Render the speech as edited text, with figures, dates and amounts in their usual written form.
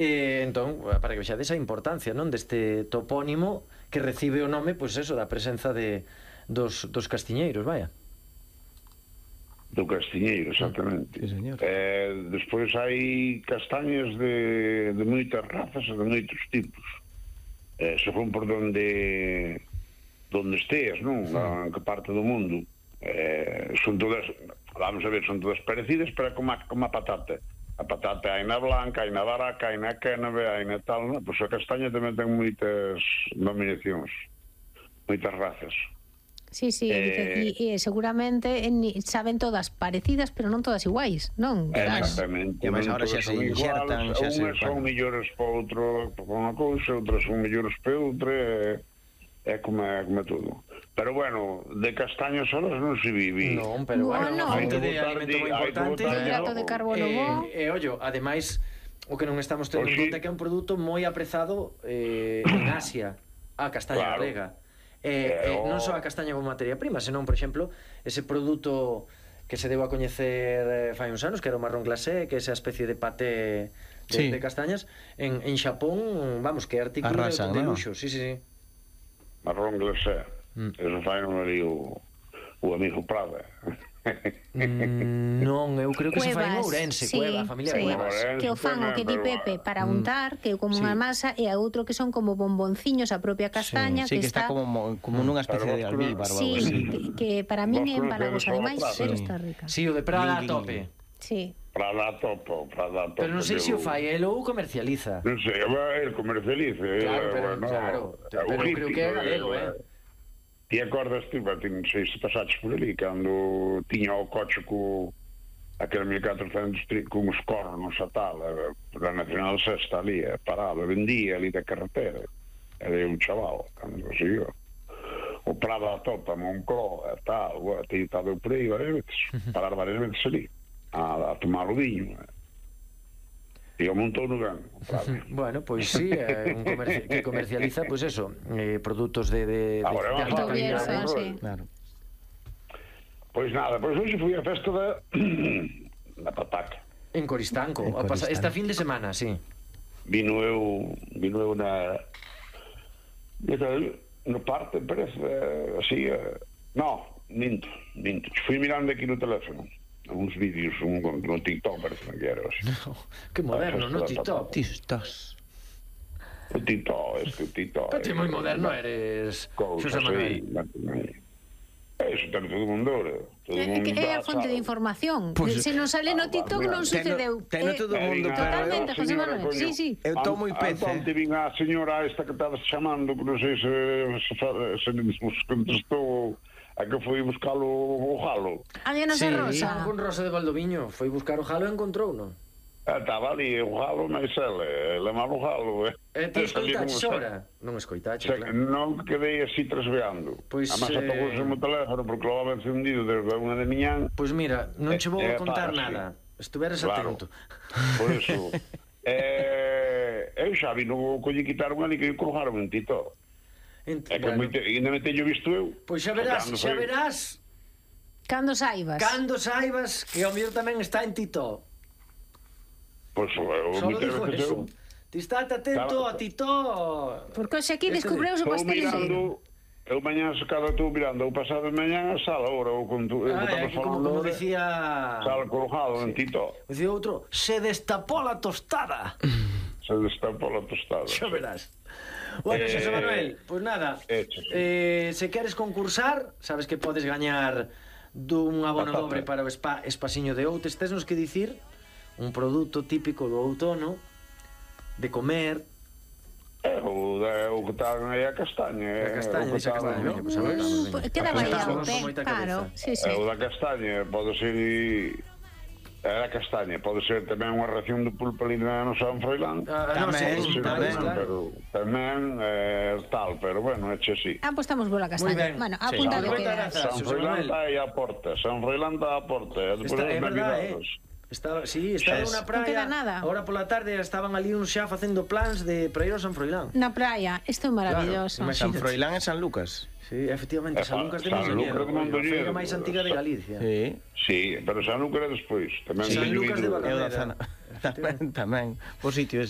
Entón, para que vexades a importancia, non, deste topónimo que recibe o nome, pois eso, da presenza dos castiñeiros, vaya. Do castiñeiro, exactamente. Sí, señor. Despois hai castañas de moitas razas e de moitos tipos. Se fon por donde esteas, non? En que parte do mundo. Son todas, vamos a ver, son todas parecidas, pero como a patata. A patata hai na blanca, hai na baraca, hai na cénave, hai na tal, non? Pois a castaña tamén ten moitas nominacións, moitas razas. Sí, e seguramente saben todas parecidas, pero non todas iguais, non? Exactamente. E máis agora xa se inxertan, xa se... Unhas son mellores para outro, para unha cousa, outras son mellores para outra, é como todo. Pero bueno, de castañas solas non se vive. Non, pero bueno, fonte de alimento moi importante. Hidrato de carbono bo. E ollo, ademais, o que non estamos tendo en conta é que é un produto moi aprezado en Asia, a castaña galega. Non só a castaña como materia prima, senón, por exemplo, ese produto que se deu a coñecer fai uns anos, que era o marrón glacé, que é esa especie de paté de castañas, en Xapón, vamos, que é artículo de luxo. Sí. Marrón glacé. Eso fai non ali o amigo Prada. Non, eu creo que se fai en Ourense, Cueva, a familia Cuevas. Que o fan o que di Pepe para untar, que é como unha masa, e a outro que son como bombonciños a propia castaña, que está como nunha especie de albíbar. Sí, que para min é empalagosa, ademais, pero está rica. Sí, o de Prada a tope. Sí. Prada a tope. Pero non sei se o fai, el ou comercializa. Non sei, el comercializa. Claro, pero creo que é galego, Ti acordas ti, non sei se pasaches por ali, cando tiña o coche co aquele 1400 con os cornos a tal, da Nacional Sexta ali, parado, vendía ali da carretera. Era un chaval, cando conseguiu. O Prada a topa, Moncló, e tal, teño estado por aí varias veces, parar varias veces ali, a tomar o viño, e o montou no gan. Bueno, pois sí, que comercializa, pois eso, produtos de alta calidad. Claro. Pois nada, pois hoxe fui a festa da pataca. En Coristanco, esta fin de semana, sí. Vino eu no parte, parece, así, minto. Fui mirando aquí no teléfono uns vídeos, no TikTok, parece que era así. Que moderno, no TikTok. O TikTok. Pero ti moi moderno eres, Xosé Manuel. Eso ten todo o mundo. É a fonte de información. Se non sale no TikTok non sucedeu. Ten todo o mundo. Totalmente, José Manuel. Sí. Eu estou moi pece. Antes vin a señora esta que estabas chamando, que non sei se nos contestou, a que foi buscar o jalo. A Diana Rosa. Con Rosa de Valdoviño. Foi buscar o jalo e encontrou, non? Estaba ali o jalo, mas ele mal o jalo. Ti escoitaches ora? Non escoitaches, claro. Non quedei así trasveando. Además apagouse o meu teléfono porque lo había encendido desde unha de miñán. Pois mira, non che vou a contar nada. Estuveras atento. Por iso. Eu xa vi, non colle quitaron ali que eu colocaron en Tito. Ainda me teño visto eu. Pois xa verás. Cando saibas que o mío tamén está en Tito. Pois só dijo eso. Ti estate atento a Tito. Porque hoxe aquí descubreuse o pasteleiro. Eu mañá secado estou mirando o pasado de mañá a sala agora ou como dicía sala colocado en Tito. Dicía outro, se destapou a tostada. Xa verás. Bueno, Xosé Manuel, pois nada, se queres concursar, sabes que podes gañar dun abono dobre para o Espasiño de Outes. Tesnos que dicir un produto típico do outono de comer. O que está aí a castaña. A castaña, dice a castaña. Queda variado, claro. O da castaña pode ser... A castaña pode ser tamén unha ración de pulpa ali no San Froilán. Tamén tal, pero bueno, é así. Pois estamos boa a castaña. Bueno, apunta que queda. San Froilán está aí a porta. É verdade, estaba nunha praia. Agora pola tarde estaban ali uns xa facendo plans de para ir ao San Froilán. Na praia, isto é maravilloso. San Froilán e San Lucas. Sí, efectivamente, San Lucas de Mondoñedo, a feira máis antiga de Galicia. Sí, pero San Lucas é despois. San Lucas de Valladolid. Tamén, por sitio ese.